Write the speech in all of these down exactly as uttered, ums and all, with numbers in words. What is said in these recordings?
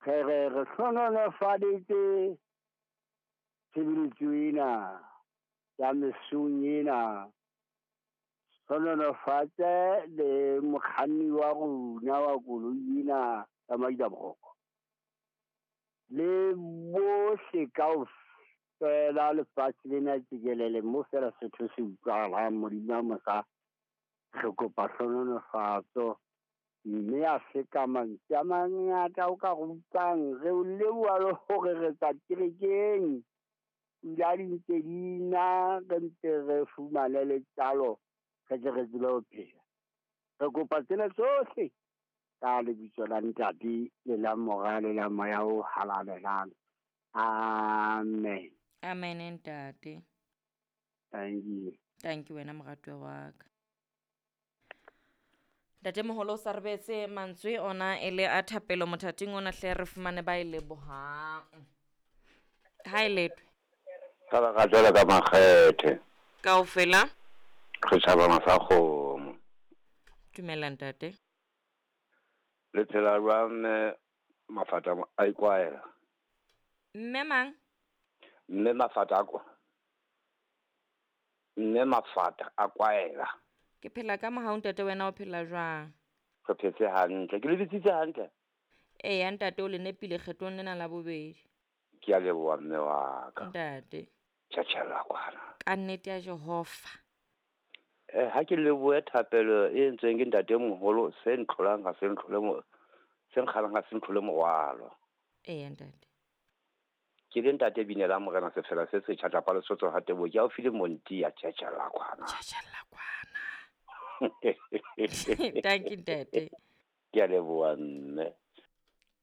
Re re re hlohonolofaditse tshebeletso ena ya mesong ena. Hlohonolofatse le mokganni wa rona wa koloi ena ya Maila boroko. Le bohle kaofela lefatshe lena tjekelele mo feela Sesotho se utlwahalang Modimo a mosa. Re kopa hlohonolofatso mme a se ka mantswe a mangata o ka re utlwang. Re o leboha le hore re tswa kerekeng. Pula di ntse di na, re mpe re fumane letlalo, re tle re tsebe ho phela. Re kopa tsena tsohle ka lebitso la Ntate le la Mora le la Moya o Halalelang. Amen. Amen ntate. Thank you. Thank you wena moratuwa wa ka. Ntate moholo o sa re beetse mantswe ona e le a thapelo mothating ona hle re fumane ba e lebohang. Ha e letwe. Ka ba ka jwalo ka makgethe. Kaofela. Re tjhaba masakgomo. Dumela ntate. Le phela jwang mme Mafata a ikwaela? Mme mang? Mme Mafata a kwa. Mme Mafata a kwaela. Ke phela ka mohau ntate, wena o phela jwang? Re phetse hantle. Ke le bitsitse hantle? Eya ntate, o le nepile kgetlong lena la bobedi. Ke a leboha mme wa ka. Ntate. Tjhatjhella kwana. Ka nnete ya Jehova. Eh, ha ke lebohe thapelo e entsweng ke ntate moholo, se ntlholang ha se ntlhole mo, se nkgalang ha se ntlhole morwalo. Eya ntate. Ke le ntate Binela Morena Sefela se setjha tlapa Lesotho ha Teboho, ke haufi le Monti ya tjhatjhella kwana. Tjhatjhella kwana. Thank you ntate. Ke a leboha mme.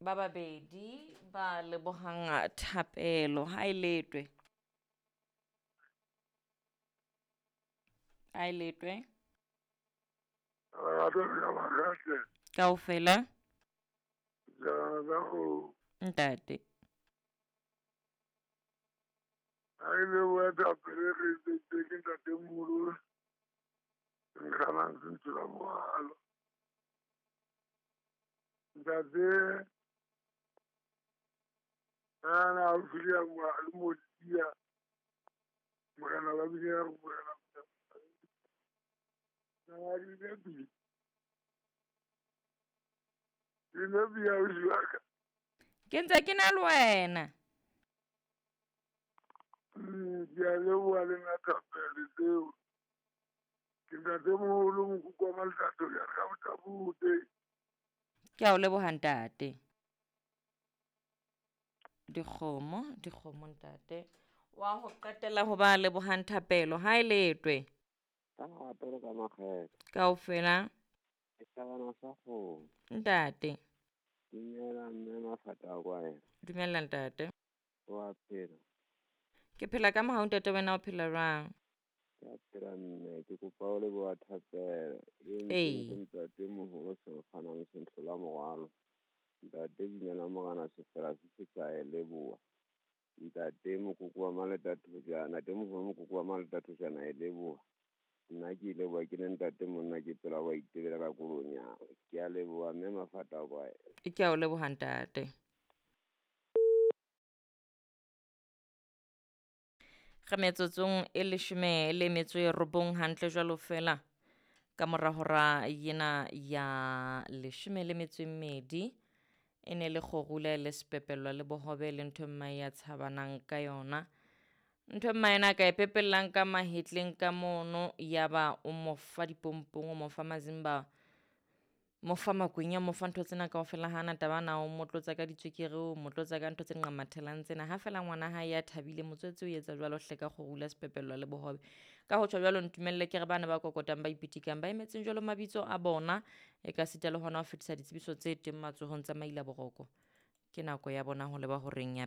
Ba babedi ba lebohang thapelo ha e letwe. Ha e letwe. Kaofela. Ntate. Ha e leboha thapelo e re entseng ke ntate moholo. Nkganang se ntshela morwalo. Ntate ana haufi le le Motia, Morena ba bile ya re Morena na di nepi. Di nepi ausi wa ka. Ke ntse ke na le wena. Ke a leboha le nna thapelo tseo. Ke ntate moholo mokoko wa Maletato ya ka botabute. Ke a o leboha ntate. Dikgomo, dikgomo ntate. Wa ho qetela ho ba lebohang thapelo ha e letwe. Ka thapelo ka makgethe. Kaofela. Ke thabana sa kgomo. Ntate. Dumela mme Mafata a kwaela. Dumela ntate. Wa phela. Ke phela ka mohau ntate, wena o phela jwang? Ke a phela mme, ke kopa o leboha thapelo e entsweng ke ntate moholo se kganang se ntlhola morwalo. Ntate Binela Morena Sefela se setjha e leboha. Ntate mokoko wa Maletathojana, ntate moholo mokoko wa Maletathojana e leboha. Nna ke leboha ke le ntate monna ke phela wa itebela ka kolonya. Ke a leboha mme Mafata a kwaela. Ke a o leboha ntate. Re metsotsong e leshome le metso e robong hantle jwalo fela ka mora hora yena ya leshome le metso e mmedi. E ne le kgorula le sepepelwa le bohobe le ntho mmae ya tshabanang ka yona. Ntho mmae yena a ka e pepellang ka mahetleng ka mono, ya ba o mo fa dipompong, o mo fa mazimba, mo fa makwenya, mo fa ntho tsena kaofela. Hana taba na o mo tlotsa ka ditswekere, o mo tlotsa ka ntho tse nqamathelang tsena. Ha fela ngwana hae ya thabile, motswetse o etsa jwalo hle ka kgorula sepepelwa le bohobe. Ka ho tjho jwalo ntumelle ke re bana ba kokotang ba ipitikang ba emetseng jwalo mabitso a bona, e ka sita le hona ho fetisa ditsebiso tse teng matsohong tsa Maila Boroko. Ke nako ya bona ho leba horeng ya